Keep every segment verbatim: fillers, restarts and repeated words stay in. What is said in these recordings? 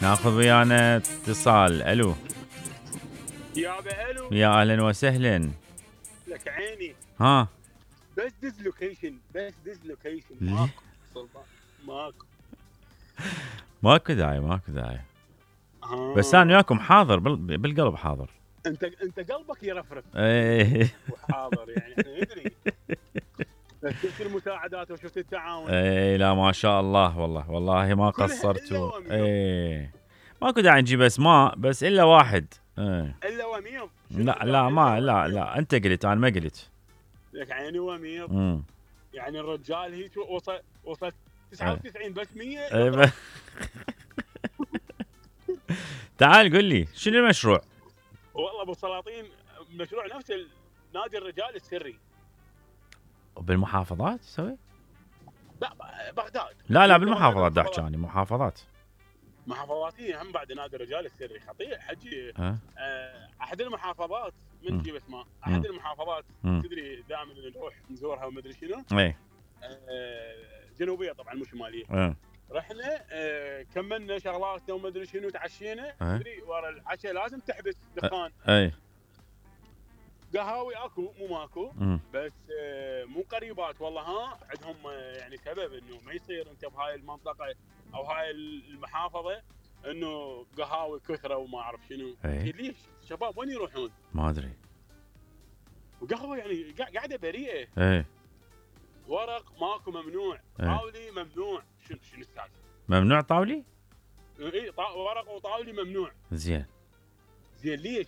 ناخذ ويانا اتصال. الو يابا الو. يا اهلا وسهلا. لك عيني. ها بس دز لوكيشن بس دز لوكيشن ليه؟ ماكو صلبان. ماكو ماكو داعي ماكو داعي. آه. بس انا وياكم حاضر بال- بالقلب حاضر. انت انت قلبك يرفرف ايه وحاضر يعني احنا ندري. بس شفت المساعدات وشفت التعاون. ايه لا ما شاء الله والله والله ما كلها قصرتوا. إلا وميض. ايه ماكو داعي نجيب اسماء بس الا واحد. ايه الا وميض. شنو لا ذا؟ لا ما إلا لا وميض. لا انت قلت انا ما قلت. لك عيني وميض. امم يعني الرجال هي شو وصل وصل تسعة وتسعين بس مية. إيه ب- تعال قل لي شنو المشروع؟ والله ابو سلاطين مشروع نفس نادي الرجال السري. بالمحافظات تسوي؟ لا بغداد. لا لا بالمحافظات دا احكي يعني محافظات. محافظات هي هم بعد نادي الرجال السري خطير حجي. أه؟ آه، احد المحافظات من مم. تجيب اسماء احد مم. المحافظات مم. تدري دائما نروح نزورها وما ادري شنو. ايه آه، جنوبيه طبعا مو شماليه. ايه رحنا آه، كملنا شغلاتنا وما ادري شنو تعشينا. أه. تدري ورا العشاء لازم تحبس دخان. ايه قهاوي اكو مو ماكو. مم. بس آه، مو قريبات والله ها عندهم آه، يعني سبب انه ما يصير انت بهاي المنطقه او هاي المحافظه انه قهاوي كثره وما اعرف شنو. إيه. ليش شباب وين يروحون؟ ما ادري. وقهوه يعني قا- قاعده بريئه. ايه ورق ماكو ممنوع. إيه. طاولي ممنوع. شنو شنو السالفه؟ ممنوع طاولي؟ اي طا- ورق وطاولي ممنوع. زين زين ليش؟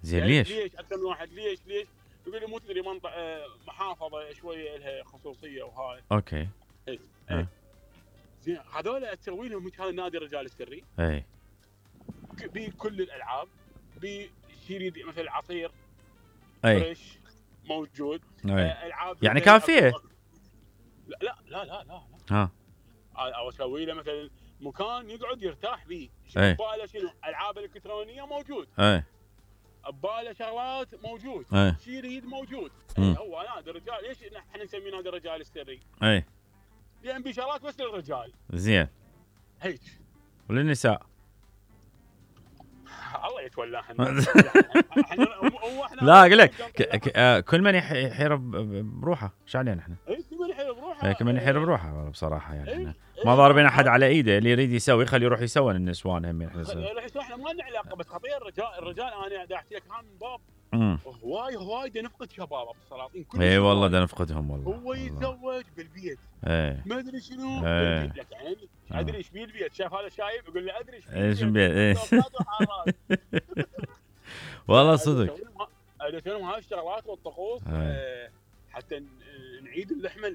زين يعني ليش؟ ليش اكثر من واحد ليش ليش؟ يقول لي مو تدري منطقه محافظه شويه لها خصوصيه وهاي. اوكي إيه. أه. إيه. زين هذول تسوي لهم هذا نادي الرجال السري. ايه ك- بكل الالعاب بشيء مثل العصير ايه فريش موجود. ايه آه، العاب يعني زي كافية؟ أكو- لا لا لا لا لا, ها لا. او اسوي له مثلا مكان يقعد يرتاح فيه. إيه. بباله شنو العاب الكترونيه موجود. ايه بباله شغلات موجود. ايه شيء يريد موجود. مم. إيه، هو نادي الرجال. ليش احنا نسميه نادي الرجال السري؟ ايه لان في شغلات بس للرجال زين هيك. وللنساء؟ الله يتولاها. احنا هو احنا لا اقول لك ك- ك- آه، كل من يح- يحير ب- ب- بروحه ايش علينا احنا؟ اي كل من يحير بروحه. إيه، كل من يحير بروحه والله بصراحه يعني إيه. احنا إيه. ما ضاربين احد على ايده. اللي يريد يسوي خليه يروح يسوي النسوان هم احنا نسوي. راح يصير احنا ما لنا علاقه. بس خطير الرجال الرجال انا دا احكي لك عن باب امم هواي هواي دا نفقد شباب ابو السلاطين. كل اي والله دا نفقدهم والله. هو والله. يتزوج بالبيت ايه ما ادري شنو. إيه. بالبيت. لك عيني آه. ادري ايش بيه البيت. شاف هذا شايب يقول لي ادري ايش ايش بيه ايه أوقات وحارات. والله صدق. ادري شنو هاي الشغلات والطقوس. إيه. آه، حتى ن- نعيد اللحمه